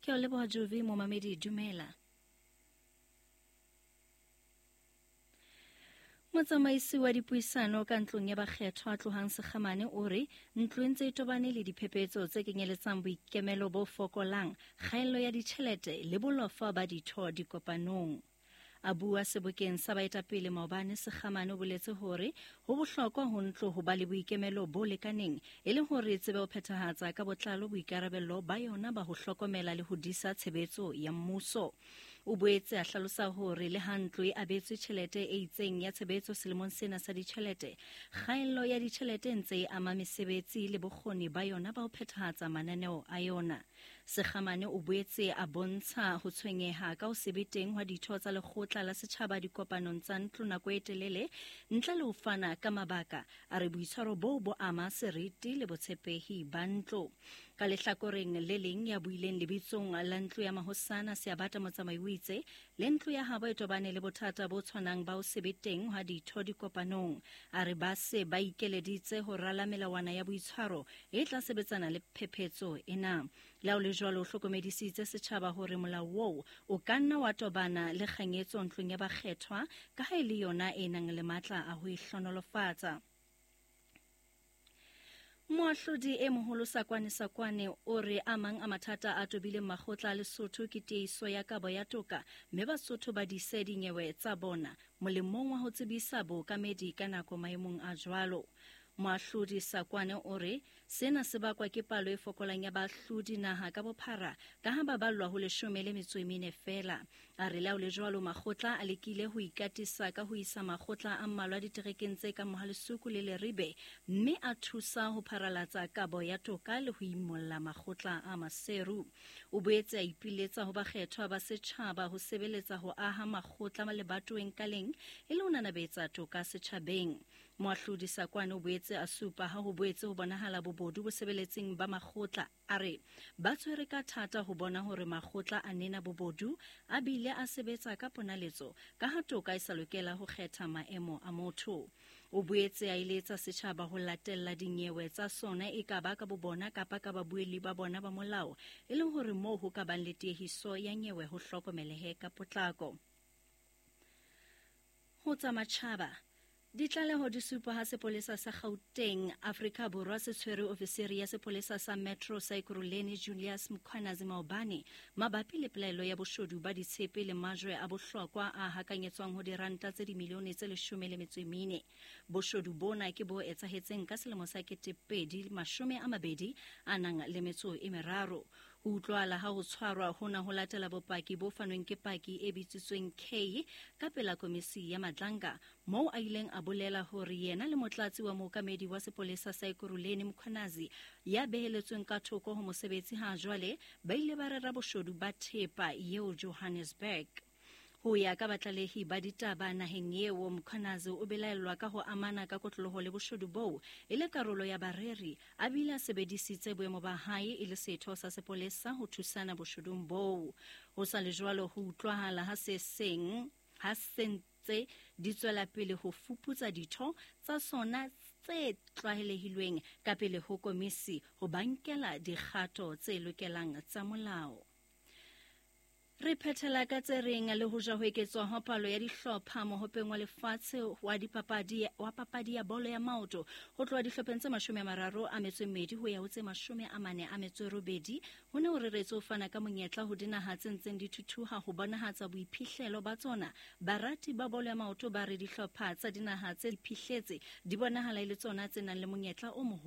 Ke o leboha Jovi momamedi dumela. Motsamaisi wa dipuisano ka ntlong ya bakgethwa Tlohang Sekgamane o re ntlo e ntse e tobane le diphephetso tse kenyeletsang boikemelo bo fokolang, kgaello ya ditjhelete le bolofa ba ditho dikopanong. A bua sebokeng sa baetapele maobane, Sekgamane o boletse hore ho bohlokwa ho ntlo ho ba le boikemelo bo lekaneng e le hore e tsebe ho phethahatsa ka botlalo boikarabello ba yona ba ho hlokomela le ho disa tshebetso ya mmuso. O boetse a hlalosa hore le ha ntlo e abetswe tjhelete e itseng ya tshebetso selemong sena sa ditjhelete, kgaello ya ditjhelete e ntse e ama mesebetsi le bokgoni ba yona ba ho phethahatsa mananeo a yona. Sekgamane o boetse a bontsha ho tshwenyeha ka ho se be teng hwa ditho tsa lekgotla la setjhaba dikopanong tsa ntlo nako e telele ntle le ho fana ka mabaka. A re boitshwaro boo bo ama seriti le botshepehi ba ntlo. Ka lehlakoreng le leng, ya buileng lebitsong la ntlo ya mahosana Seabata Motsamai o itse le ntlo ya habo e tobane le bothata bo tshwanang ba ho se be teng hwa ditho dikopanong. A re ba se ba ikeleditse ho rala melawana ya boitshwaro e tla sebetsana le phephetso ena. Le ha ho le jwalo, o hlokomedisitse setjhaba hore molao oo o ka nna wa tobana le kganyetso ntlong ya bakgethwa ka ha e le yona e nang le matla a ho e hlonolofatsa. Moahlodi e moholo Sakwane Sakwane o re a mang a mathata a tobileng makgotla a Lesotho ke tieiso ya kabo ya toka mme Basotho ba dise dinyewe tsa bona molemong wa ho tsebisa bookamedi ka nako maemong a jwalo. Moahlodi Sakwane o re sena se bakwa ke palo e fokolang ya baahlodi naha ka bophara ka ha ba ballwa ho 14 feela. A re le ha ho le jwalo makgotla a lekile ho ikatisa ka ho isa makgotla a mmalwa diterekeng tse kang Mohalesuku le Leribe mme a thusa ho pharalatsa kabo ya toka le ho imolla makgotla a Maseru. O boetse a ipiletsa ho bakgethwa ba setjhaba ho sebeletsa ho aha makgotla lebatoweng ka leng e le ho nanabetsa toka setjhabeng. Moahlodi Sakwane o boetse a supa ha ho boetse ho bonahala bobodu bosebeletsing ba makgotla. A re ba tshwere ka thata ho bona hore makgotla a nena bobodu a bile a sebetsa ka ponaletso ka ha toka e sa lokela ho kgetha maemo a motho. O boetse a eletsa setjhaba ho latella dinyewe tsa sona e ka ba ka bobona kapa ka babuelli ba bona ba molao e le hore moo ho ka bang le tiehiso ya nyewe ho hlokomelehe ka potlako. Ho tsa matjhaba, ditlaleho di supa ha sepolesa sa Gauteng, Afrika Borwa se tshwere ofisiri ya sepolesa sa Metro sa Ekurhuleni Julius Mkhwanazi maobane mabapi le pelaelo ya boshodu ba ditshepe le majwe a bohlokwa a hakanyetswang ho diranta tse dimilione tse 14. Boshodu bona ke bo etsahetseng ka selemo sa 2023. Ho utlwahala ha ho tshwarwa hona ho latela bopaki bo fanweng ke paki e bitsitsweng K ka pela komisi ya Madlanga, moo a ileng a bolela hore yena le motlatsi wa mookamedi wa sepolesa sa Ekurhuleni Mkhwanazi ya beheletsweng ka thoko ho mosebetsi ha jwale ba ile ba rera boshodu ba thepa eo Johannesburg. Ho ya ka batlalehi ba ditaba naheng eo, Mkhwanazi o belaellwa ka ho amana ka kotloloho le boshodu boo e le karolo ya bareri, a bile a sebedisitse boemo ba hae e le setho sa sepolesa ho thusana boshudung boo. Ho sa le jwalo, ho utlwahala ha se seng ha se ntse di tswela pele ho fuputsa ditho tsa sona tse tlwaelehilweng ka pele ho komisi ho ba nkela dikgato tse lokelang tsa molao. Re phethela ka tse reng le ho ja ho eketswa ho palo ya dihlopha mohopeng wa lefatshe wa dipapadi wa papadi ya bolo ya maoto ho tloha dihlopheng tse 32 ho ya ho tse 48 ho ne ho reretswe ho fana ka monyetla ho dinaha tse ntseng di thuthuha ho bonahatsa boiphihlelo ba tsona. Barati ba bolo ya maoto ba re dihlopha tsa dinaha tse iphihletse di bonahala e le tsona tse nang le monyetla o moholo.